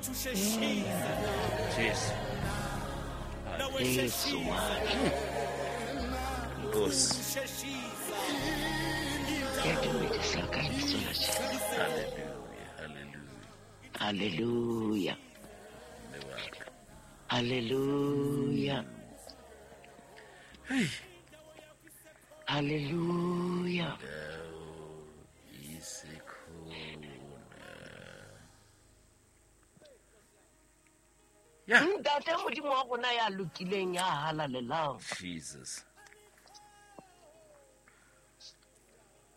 Jesu. Jesu wa Nkosi. Ke a dumedisa ka lebitso la Jesu. Hallelujah. Hallelujah. Hallelujah. Mme wa ka. Hallelujah. Hey. Hallelujah. Dawo isekhona. Yeah. Ntate Modimo wa rona ya lokileng ya halalelang. Jesus.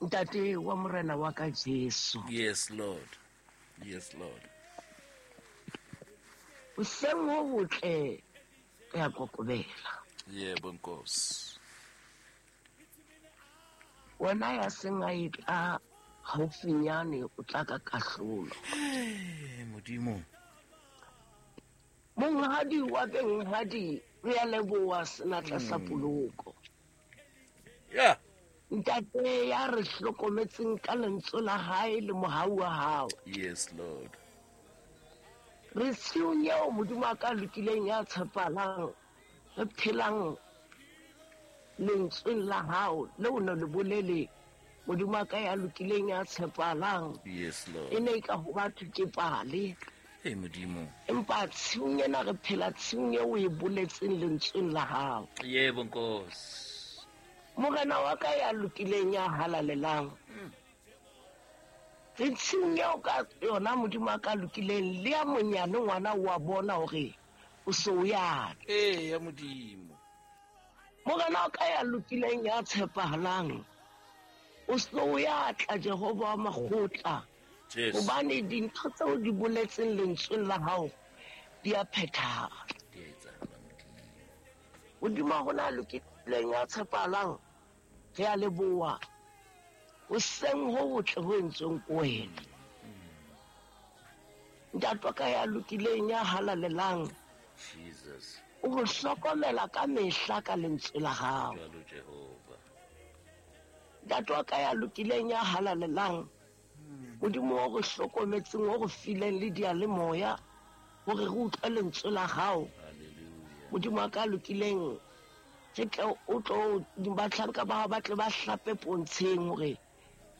Ntate wa morena wa ka Jesu. Yes, Lord. Yes, Lord. Hoseng ho botle re a kokobela. Yebo Nkosi. Wena ya seng a e tla haufinyane o tla ka kahlolo. Hey, Modimo. Monghadi wa benghadi re a leboha senatla sa poloko. Yeah. Ntate ya re hlokometseng ka lentswe la hae le mohau wa hao. Yes, Lord. Re tshiung eo Modimo a ka lokileng ya tshepalang, re phelang lentsweng la hao leo ne le bolele Modimo a ka ya lokileng ya tshepalang. Yes, E Lord. ne e ka ho batho ke pale. Hey, Modimo. Empa tshiung ena re phela tshiung eo o e boletseng lentsweng la hao. Yebo Nkosi. Morena wa ka ya lokileng ya halalelang. Re tshiung eo ka yona Modimo a ka lokileng le ya monyane ngwana wa bona hore o se o ya. Eh, ya Modimo. Morena wa ka ya lokileng ya tshepahalang. O se o ya tla Jehova wa makgotla. Jesu. Hobane dintho tseo di boletseng lentsweng la hao di a phethahala. Di a etsahala Modimo. Modimo wa rona a lokileng ya tshepahalang, re a leboha. Hoseng ho botle ho entsweng ko wena. Ntate wa ka ya lokileng ya halalelang, Jesus. o re hlokomela ka mehla ka lentswe la hao. Jwalo Jehova. Ntate wa ka ya lokileng ya halalelang, Modimo o re hlokometseng, o re fileng le diyalemoya hore re utlwe lentswe la hao. Hallelujah. Modimo wa ka lokileng, re tle o tlo bahlanka ba hao ba tle ba hlape pontsheng hore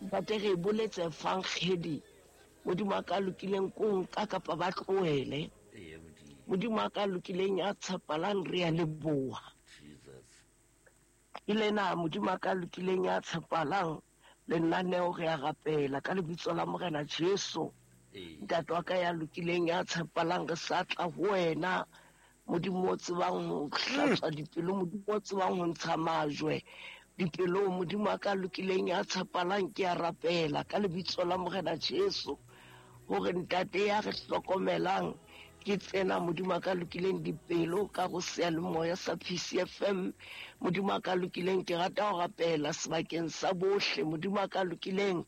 ntate re boletse evankgedi. Modimo wa ka lokileng ko nka kapa ba tlohele. Eh, ya Modimo. Modimo wa ka lokileng ya tshepalang re a leboha. Jesus. Ke lena Modimo wa ka lokileng ya tshepalang lenaneo re a rapela ka lebitso la Morena Jesu. Eh. Ntate wa ka ya lokileng ya tshepalang re sa tla ho wena. Modimo o tsebang ho hlatswa dipelo, Modimo o tsebang ho ntsha majwe dipelong. Modimo wa ka lokileng ya tshepalang ke a rapela ka lebitso la Morena Jesu hore ntate ya re hlokomelang ke tsena Modimo wa ka lokileng dipelo ka go seyalemoya sa PCFM. Modimo wa ka lokileng ke rata ho rapela sebakeng sa bohle. Modimo wa ka lokileng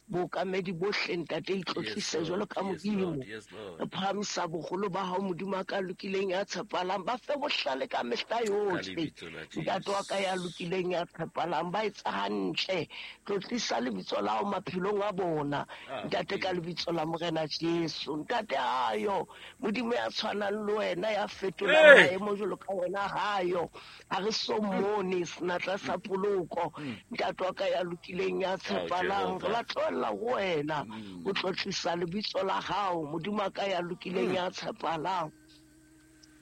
bookamedi bohle ntate itlotlise Yes, jwalo Lord. ka Yes, Modimo. Lord. Yes, Lord. Re phahamisa boholo ba hao Modimo wa ka lokileng ya tshepalang, ba fe bohlale ka mehla Ka yohle. lebitso la Ntate wa ka ya Jesu. lokileng ya tshepalang, ba etsa hantle. Tlotlisa lebitso la hao maphelong a bona. Ah, Ntate ka Modimo. lebitso la Morena Jesu. Ntate hayo, Modimo ya tshwanang le wena ya fetolang Hey! maemo jwalo ka wena hayo. Ha re so mmone senatla sa poloko. Ntate wa ka ya lokileng ya tshepalang, Jehova. re ba tlohella ho wena o tlotlisa lebitso la hao. Modimo wa ka ya lokileng ya tshepalang.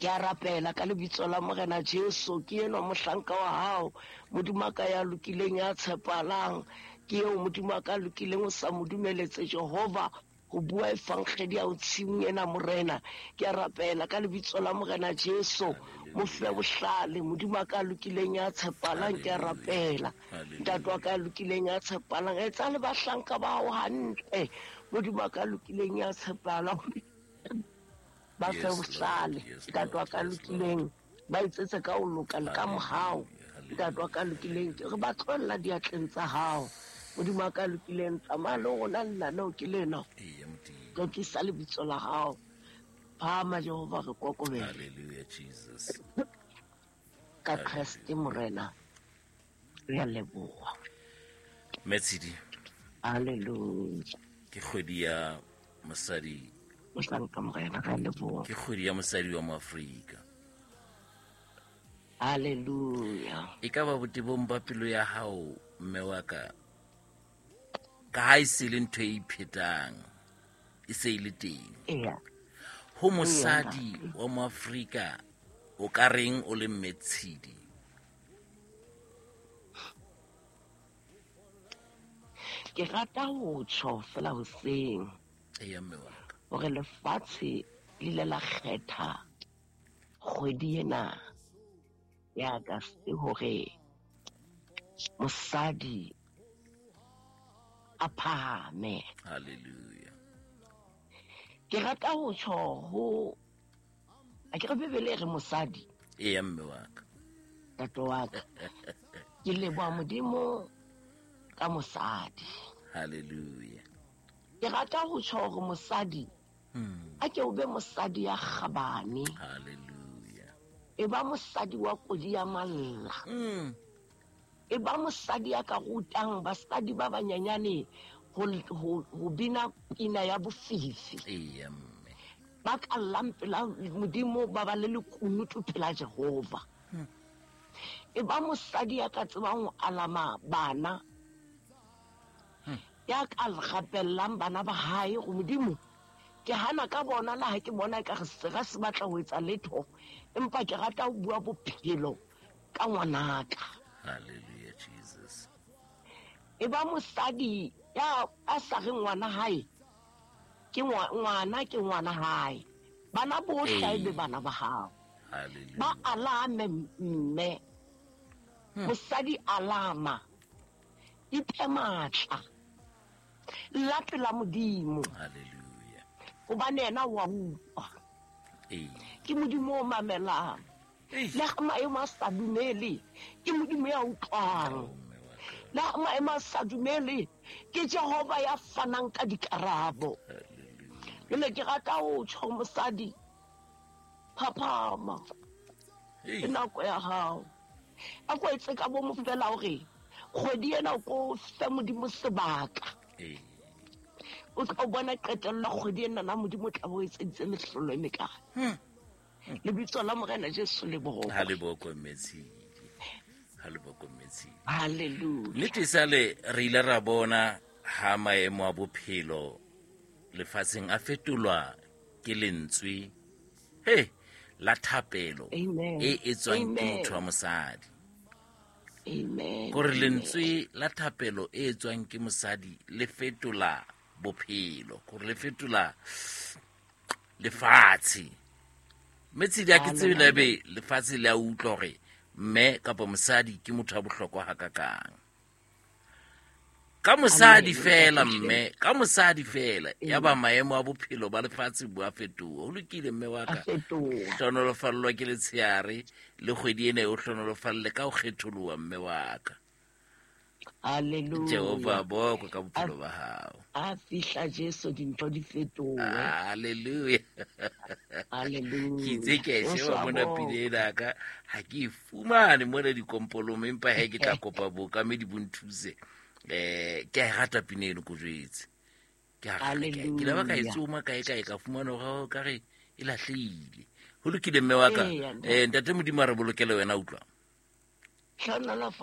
Ke a rapela ka lebitso la Morena Jesu, ke enwa mohlanka wa hao. Modimo wa ka ya lokileng ya tshepalang, ke eo Modimo wa ka lokileng o sa mo dumeletse Jehova ho bua evankgedi ya ho tshimong ena Morena. Ke a rapela ka lebitso la Morena Jesu, mo fe bohlale. Modimo wa ka lokileng ya tshepalang, ke a rapela. Hallelujah. Ntate wa ka lokileng ya tshepalang, etsa le bahlanka ba hao hantle. Modimo wa ka lokileng ya tshepalang, ba fe Yes, Lord. bohlale. Yes, Ntate wa Lord. ka Yes, Lord. lokileng, ba etsetse ka ho loka le ka mohau. Hallelujah. Ntate wa ka lokileng, ke re ba tlohella diatleng tsa hao. Modimo wa ka lokileng, tsamaya le rona lenaneo ke lena. Eh, ya Modimo. Tlotlisa lebitso la hao. Phahama Jehova re kokobele. Hallelujah, Jesus. Ka Kreste Morena. Re a leboha. Metshidi. Hallelujah. Ke kgwedi ya mosadi Mohlanka Morena, re a leboha. Ke kgwedi ya mosadi wa Moafrika. Hallelujah. E ka ba botebong ba pelo ya hao, mme wa ka, ka ha e se le ntho e iphetang, e se e le teng. Eya. Ho mosadi wa Moafrika, o ka reng o le mme Tshidi? Ke rata ho tjho fela hoseng. Eya, mme wa ka. Hore lefatshe le ile la kgetha kgwedi ena ya Agasti hore mosadi a phahame. Hallelujah. Ke rata ho tjho ho a ke re Bibele e re mosadi. Eya, mme wa ka. Ntate wa ka. Ke leboha Modimo ka mosadi. Hallelujah. Ke rata ho tjho hore mosadi a ke o be mosadi ya kgabane. Hallelujah. E ba mosadi wa kodi ya malla. E ba mosadi ya ka rutang basadi ba banyenyane ho bina pina ya bofifi. Eya, mme. Ba ka llang pela Modimo, ba ba le lekunutu pela Jehova. E ba mosadi ya ka tsebang ho alama bana. Ya ka rapellang bana ba hae go Modimo. Ke hana ka bona la ha ke bona ka re sera se batla ho etsa letho, empa ke rata ho bua bophelo ka ngwanaka. Hallelujah, Jesus. E ba mosadi ya a sa reng ngwana hae ke ngwana ke ngwana hae. Bana bohle e be bana ba hao. Hallelujah. Ba alame mme. Mosadi alama. Iphe matla. La pela Modimo. Hallelujah. Hobane yena wa utlwa. Ke Modimo o mamelang. Le ha maemo a sa dumele, ke Modimo ya utlwang. Le ha maemo a sa dumele, ke Jehova ya fanang ka dikarabo. Jwale ke rata ho tjho mosadi, phaphama. Ke nako ya hao. A ko etse ka bomo fela hore kgwedi ena o ko fe Modimo sebaka. O tla bona qetello kgwedi ena na Modimo o tla bo etseditse mehlolo e mekae. Lebitso la Morena Jesu le bokwe. Ha le bokwe, mme Tshidi. Ha le bokwe, mme Tshidi. Hallelujah. Nnete sale re ile ra bona ha maemo a bophelo lefatsheng a fetolwa ke lentswe he la thapelo e etswang ke motho wa mosadi. Amen. Kore lentswe la thapelo e etswang ke mosadi le fetola bophelo, kore le fetola lefatshe. Mme Tshidi, ha ke tsebe le ebe lefatshe le a utlwa hore mme kapa mosadi ke motho wa bohlokwa hakakang. Ka mosadi fela mme, ka mosadi fela ya ba maemo a bophelo ba lefatshe bo a fetoha. Ho lokile mme wa ka. Hlonolofallwa ke letsheare le kgwedi ena e o hlonolofalle ka ho kgetholoha mme wa ka. Hallelujah. Jehova bokwe ka bophelo ba hao. A fihla Jesu dintho di fetohe. Hallelujah. Hallelujah. Ke itse ke a sheba mona pina ena ka ha ke e fumane mona dikompolong, empa he ke tla kopa bookamedi bo nthuse. Ke a e rata pina eno, ko jwetse. Ke a ke la ba ka e tsoma kae kae ka fumana hore ka re e lahlehile. Ho lokile mme wa ka. Ntate Modimo a re bolokele wena, utlwa. Hlonolofa